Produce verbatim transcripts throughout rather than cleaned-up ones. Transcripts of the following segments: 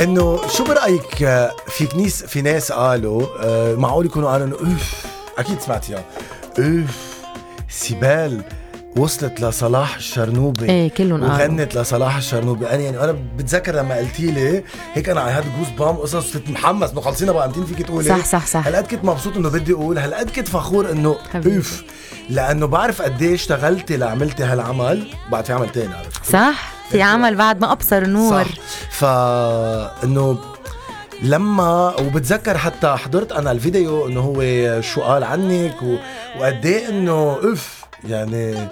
انه شو برأيك آه، في كنيس في ناس قالوا آه، معقول يكونوا قالوا انه اوف، اكيد سمعتيها، اوف سيبال وصلت لصلاح الشرنوبي ايه كلهم قالوا وغنت لصلاح الشرنوبي. انا يعني انا بتذكر لما قلتي لي هيك انا على هاد جوز بام قصص كنت محمس انه خلصينا بقى امتين فيك تقولي صح صح صح. هالقد كنت مبسوط انه بدي اقول، هالقد كنت فخور انه حبيبي. اوف، لانه بعرف قد ايه اشتغلتي لعملتي هالعمل. بعد في عمل تاني عرفت صح، في عمل بعد ما ابصر النور. صح. فانه لما وبتذكر حتى حضرت انا الفيديو انه هو شو قال عنك و... وقد ايه انه اوف يعني.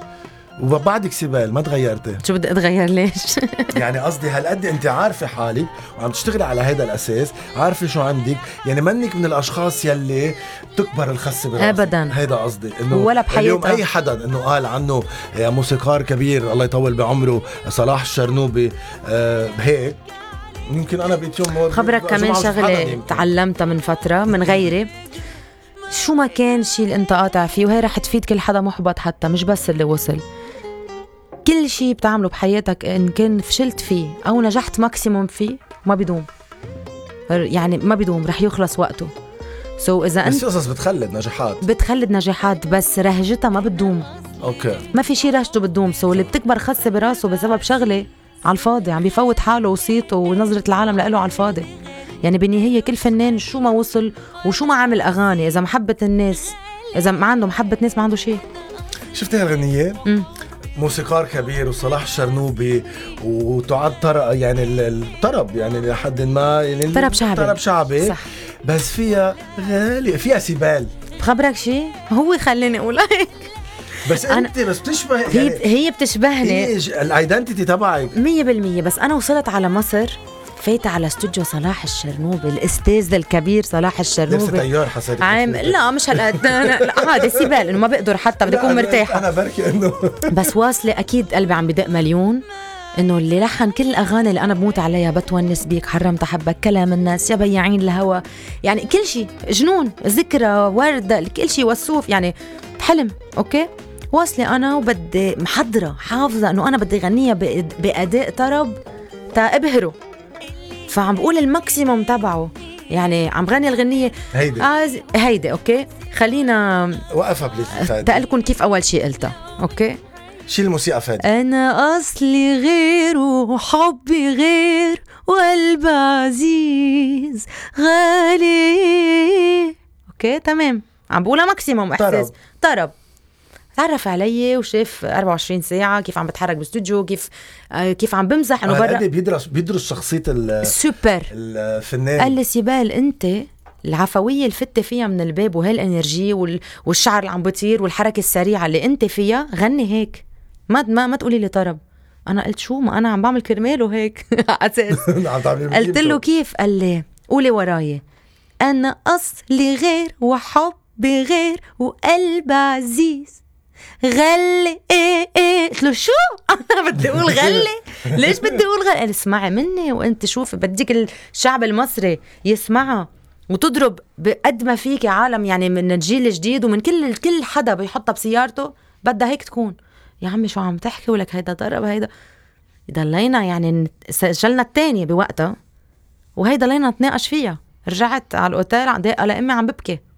وبعدك سيبال ما تغيرتي. شو بدي اتغير ليش؟ يعني قصدي هالقد انت عارفه حالك وعم تشتغلي على هيدا الاساس، عارفه شو عندك، يعني منك من الاشخاص يلي تكبر الخسه براسك ابدا. هيدا قصدي انه ولا بحياتها. اليوم اي حدا انه قال عنه موسيقار كبير الله يطول بعمره صلاح الشرنوبي آه هيك، يمكن انا بقيت يوم خبرك كمان شغله تعلمتها من فتره من غيري، شو ما كان شيء اللي انت قاطع فيه، وهي رح تفيد كل حدا محبط حتى مش بس اللي وصل. كل شيء بتعمله بحياتك ان كان فشلت فيه او نجحت ماكسيموم فيه ما بيدوم، يعني ما بيدوم، رح يخلص وقته. سو so اذا بس انت قصص بتخلد نجاحات بتخلد نجاحات بس رهجتها ما بتدوم. اوكي ما في شيء رهجته بتدوم. سو so اللي بتكبر خسه براسه بسبب شغله على الفاضي عم بيفوت حاله وصيته ونظرة العالم لإله على الفاضي. يعني بالنهاية كل فنان شو ما وصل وشو ما عامل أغاني، إذا محبة الناس، إذا ما عنده محبة ناس ما عنده شيء. شفتي هالغنية؟ م. موسيقار كبير وصلاح الشرنوبي وتعد طرب، يعني الطرب يعني لحد ما يعني طرب شعبي طرب شعبي صح. بس فيها غالي، فيها سيبال. بخبرك شيء هو خليني أقول هيك بس انت بس بتشبه يعني هي هي بتشبهني الايدنتيتي تبعك مية بالمية. بس انا وصلت على مصر فايتة على استوديو صلاح الشرنوبي، الاستاذ الكبير صلاح الشرنوبي. لبس طيار حسيت عام لا مش هالقد عادي سيبال انه ما بقدر حتى بدي اكون مرتاحه. انا بركي انه بس واصله اكيد قلبي عم بدق مليون انه اللي لحن كل الاغاني اللي انا بموت عليها، بتونس بيك، حرمت احبك، كلام الناس، يا بياعين الهوى، يعني كل شيء، جنون، ذكرى، ورده، كل شيء، وصوف، يعني حلم. اوكي واصله انا وبدي محضره حافظه انه انا بدي غنيها باداء طرب تا ابهره، فعم بقول الماكسيموم تبعه، يعني عم غني الغنيه هيدي آه هيدي. اوكي خلينا وقفها بليز تقلكن كيف اول شيء قلتها. اوكي شيل الموسيقى فادي. انا اصلي غير وحبي غير وقلب عزيز غالي. اوكي تمام، عم بقولها ماكسيموم احساس طرب. تعرف علي وشاف أربعة وعشرين ساعة كيف عم بتحرك باستوديو، كيف آه كيف عم بمزح انه برا بيدرس بيدرس شخصية السوبر الفنان. قال لي سيبال انت العفوية الفتة فيها من الباب وهالانرجي وال... والشعر اللي عم بطير والحركة السريعة اللي انت فيها، غني هيك، ما ما ما تقولي لي طرب. انا قلت شو، ما انا عم بعمل كرماله هيك اساس. قلت له كيف؟ قال لي قولي وراي، انا اصلي غير وحبي غير وقلب عزيز غلي ايه ايه. قلت له شو؟ انا بدي اقول غلي؟ ليش بدي اقول غلي؟ قال اسمعي مني وانت شوفي، بديك الشعب المصري يسمعها وتضرب بقد ما فيك عالم، يعني من الجيل الجديد ومن كل كل حدا بيحطها بسيارته بدها هيك تكون. يا عمي شو عم تحكي؟ ولك هيدا ضرب هيدا. ضلينا يعني سجلنا الثانيه بوقتها وهيدا لينا نتناقش فيها. رجعت على الاوتيل دقه لامي عم ببكي